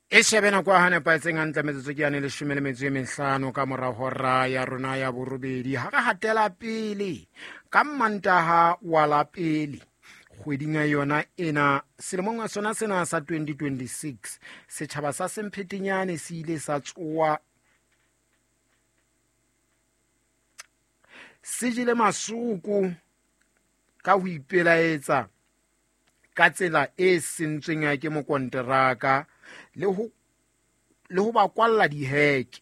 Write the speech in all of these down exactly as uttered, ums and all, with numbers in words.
E shebe nako ya nepahetseng hantle metsotso ke yane leshome le metso e mehlano ka mora hora ya rona ya borobedi. Ha re hatela pele ka Mantaha wa la pele kgweding ya yona ena selemong sona sena sa twenty twenty-six, setjhaba sa Semphetenyane se ile sa tsoa se jele masoko ka ho ipelaetsa ka tsela e sentsweng ke mokonteraka le ho le ho ba kwalla diheke.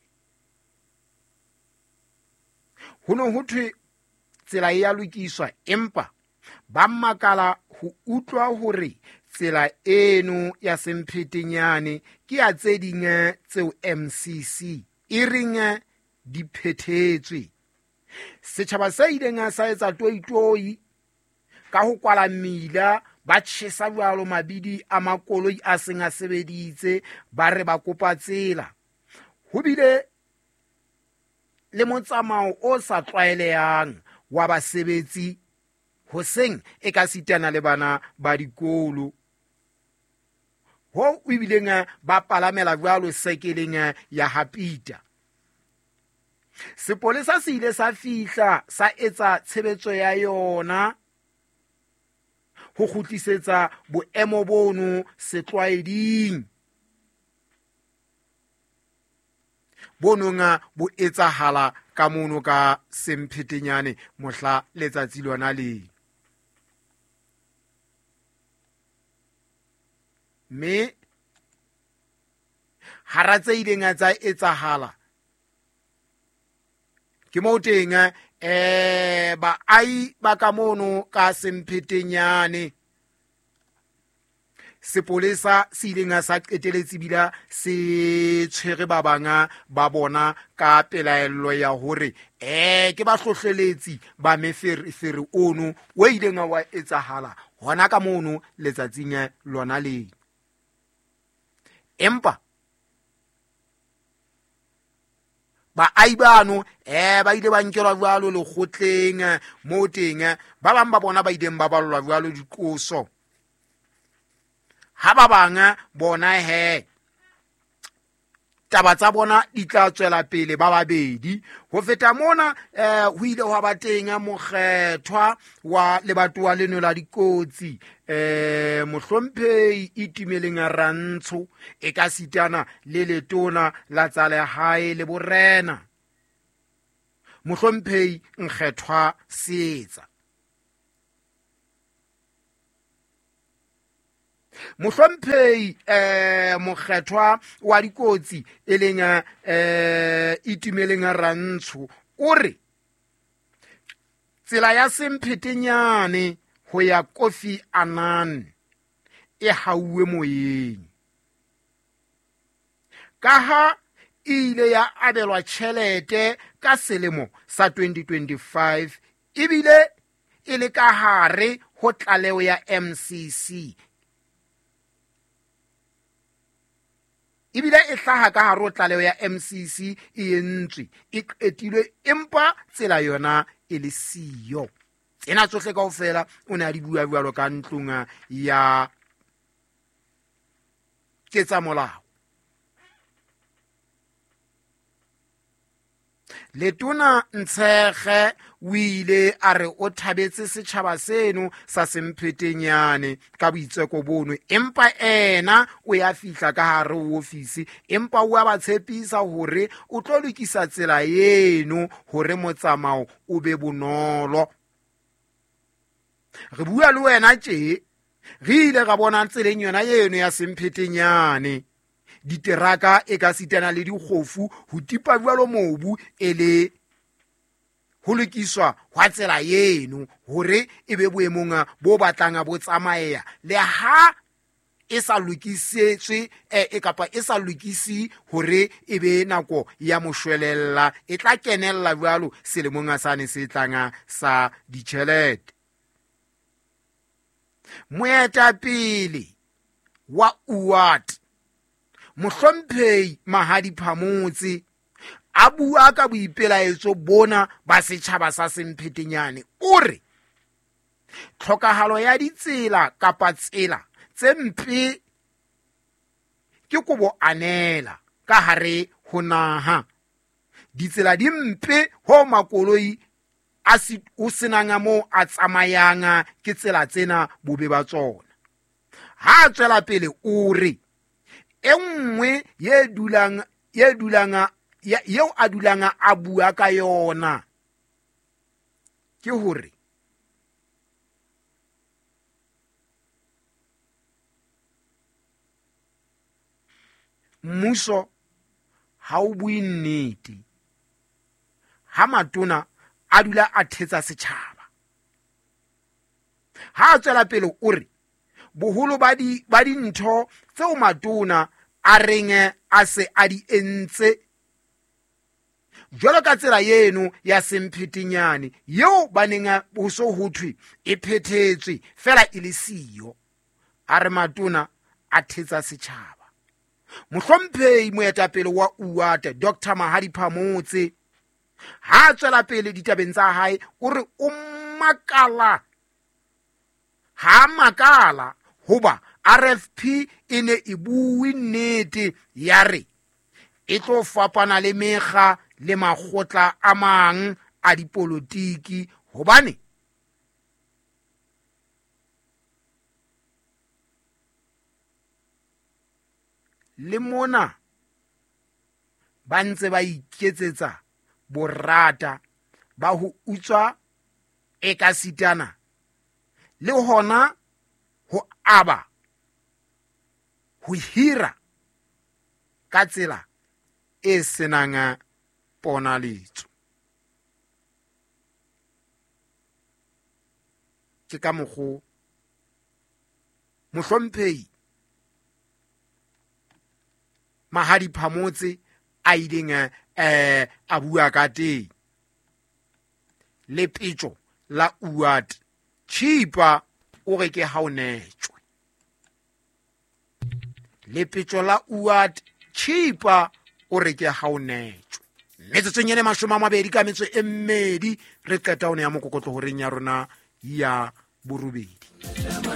Ho no ho thwe tsela e ya lokiswa, empa ba makala ho utlwa hore tsela eno ya Semphetenyane ke ya tse ding tseo M C C e reng di phethetswe. Setjhaba se ileng sa etsa toitoi ka ho kwala mmila, ba tjhesa jwalo mabidi a makoloi a seng a sebeditse, ba re ba kopa tsela. Ho bile le motsamao o sa tlwaelehang wa basebetsi hoseng e ka sitana le bana ba dikolo, ho ebileng ba palamela jwalo sekeleng ya Hapita. Sepolesa se ile sa fihla sa etsa tshebetso ya yona ho kgutlisetsa boemo bono setlwaeding bononga bo etsahala ka mono ka Semphetenyane mohla letsatsi lona le. Mme hara tse ileng tsa etsahala ke moo teng eh baahi ba ka mono ka Semphetenyane sepolesa se ileng sa qeteletse bila se tshwere ba banga ba bona ka pelaello ya hore eh ke ba hlohleletsi ba meferefere ono o ileng wa etsahala hona ka mono letsatsing lona le. Empa baahi bano eh ba ile ba nkelwa jwalo lekgotleng moo teng ba bang ba bona ba ileng ba ballwa jwalo diqoso, ha ba bang bona he taba tsa bona di tla tswela pele ba babedi. Ho feta mona eh ho ile hwa ba teng mokgethwa wa lebatowa leno la dikotsi eh mohlomphehi Itumeleng Rantsho e ka sitana le letona la tsa lehae le borena mohlomphehi Nkgethwa Seetsa. Mohlomphehi eh mokgethwa wa dikotsi e leng eh Itumeleng Rantsho o re tsela ya Semphetenyane ho ya Kofi Annan e hauwe moyeng ka ha e ile ya abelwa tjhelete ka selemo sa twenty twenty-five ebile e le ka hare ho tlaleho ya M C C ebile e hlaha ka hare ho tlaleho ya M C C e entswe e qetilwe, empa tsela yona e le siyo. Tsena tsohle kaofela o ne a di bua jwalo ka ntlong ya ketsamolao. Letona Ntshekge o ile a re o thabetse setjhaba seno sa Semphetenyane ka boitseko bono, empa ena o ya fihla ka hare ho ofisi empa o a ba tshepisa hore o tlo lokisa tsela eno hore motsamao o be bonolo. Re bua le wena tje re ile ra bona tseleng yona eno ya Semphetenyane diteraka e ka sitana le dikgofu ho tipa jwalo mobu e le ho lokiswa hwa tsela eno hore e be boemong bo batlang bo tsamaya le ha e sa lokisetswe e kapa e sa lokisi hore e be nako ya moshwelella e tla kenella jwalo selemong sane se tlang sa ditjhelete. Moetapele wa U A T mohlomphehi Mahadi Phamotse a bua ka boipelaetso bona ba setjhaba sa Semphetenyane o re tlhokahalo ya ditsela kapa tsela tse mpe ke kobo anela ka hare ho naha. Ditsela di mpe ho makoloi a si o senang mo a tsamayang ke tsela tsena bobe ba tsona. Ha tswela pele o re e nngwe ye dulang ye dulang yeo a dulang a bua ka yona ke hore mmuso ha o bue nnete ha matona a dula a thetsa setjhaba. Ha a tswela pele o re boholo ba di ba dintho tseo matona a reng a se a di entse jwalo ka tsela eno ya semphetenyane yeo ba neng ho so ho thwe e phethetswe fela e le siyo. A re matona a thetsa setjhaba. Mohlomphehi moetapele wa U A T Doctor Mahadi Phamotse ha tswela pele ditabeng tsa hae o re o makala ha makala hoba R F P e ne e bue nnete ya re e tlo fapana le mekga le makgotla a mang a dipolotiki hobane le mona ba ntse ba iketsetsa borata ba ho utswa ekasitana le hona ho aba ho hira ka tsela e senang ponaletso. Ke ka mokgo mohlomphehi Mahadi Phamotse a ileng eh a bua ka teng. Lepetjo la U A T Chipa o re ke ha o netjwe. Lepetjo la U A T Chipa o re ke ha o netjwe. Metsotsong e mashome a mabedi ka metso e mmedi re qeta ho ne ya mokokotlo horeng ya rona ya borobedi.